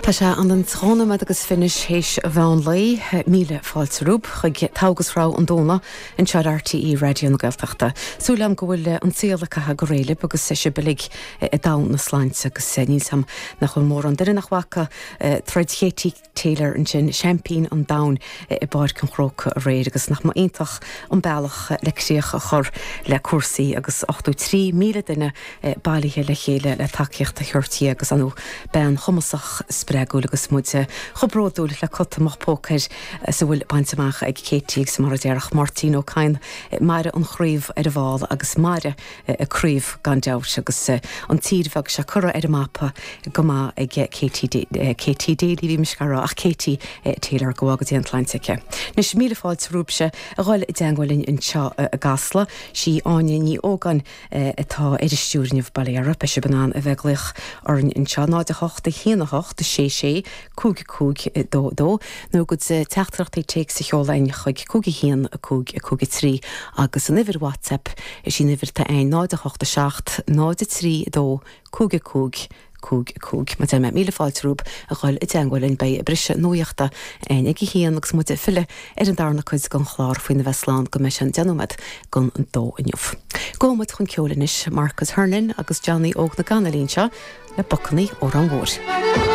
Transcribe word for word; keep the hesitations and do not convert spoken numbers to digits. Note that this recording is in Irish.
Tá sé an an trí nóiméad agus fiche théis an mheán lae míle fáilte romhaibh chuig Togha agus Rogha an Domhnaigh anseo ar RTÉ Raidió na Gaeltachta. Súil agam go bhfuil an saol ag caitheamh go réidh libh agus sibh uilig i dtogha na sláinte agus níl a fhios agam nach bhfuil mórán duine nach bhfaca troid Katie Taylor ansin seaimpín an domhain i bPáirc an Chrócaigh aréir agus nach mba iontach an bealach le críoch a chur le cúrsaí agus ochtó trí míle duine bailithe le chéile le tacaíocht a thabhairt di agus an bean chumasach spreagúil agus muid chomh bródúil le cut amach póca air is a bhfuil bainte amach ag Katie agus mar a déarfadh Máirtín Ó Cadhain mairfidh an chraobh ar an bhfál agus mairfidh an chraobh gan dabht agus an tír bheag seo curtha ar an mapa go maith ag Katie Katie Daly bhí mise ag rá ach Katie Taylor go bhfága Dia an tsláinte aici. Anois míle fáilte romhaibhse a dhul i dteagmháil linn anseo i gCasla sí Áine Ní Ógáin atá ar an stiúir inniu bail ó Dhia oraibh beidh sibh in ann a bheith ag glaoch orainn anseo náid a hocht a haon a hocht sé sé cúig cúig dó dó nó bhur gcuid teachtaireachtaí téacs a sheoladh chuig cúig a haon a cúig a cúig a trí agus an uimhir WhatsApp is í an uimhir atá ann náid a hocht a seacht náid a trí dó cúig a cúig cúig cúig. Mar a deir mé míle fáilte romhaibh a dhul i dteagmháil linn beidh briseadh nuachta ag a haon agus muid ag filleadh ar an darna cuid den chlár faoina bheith slán go mbeidh sé deich nóiméad don dó inniu. Gabhfaidh muid chun ceoil anois Marcus Hernon agus Johnny Óg na gCanailín seo le Bacannaí Órán Mhóir.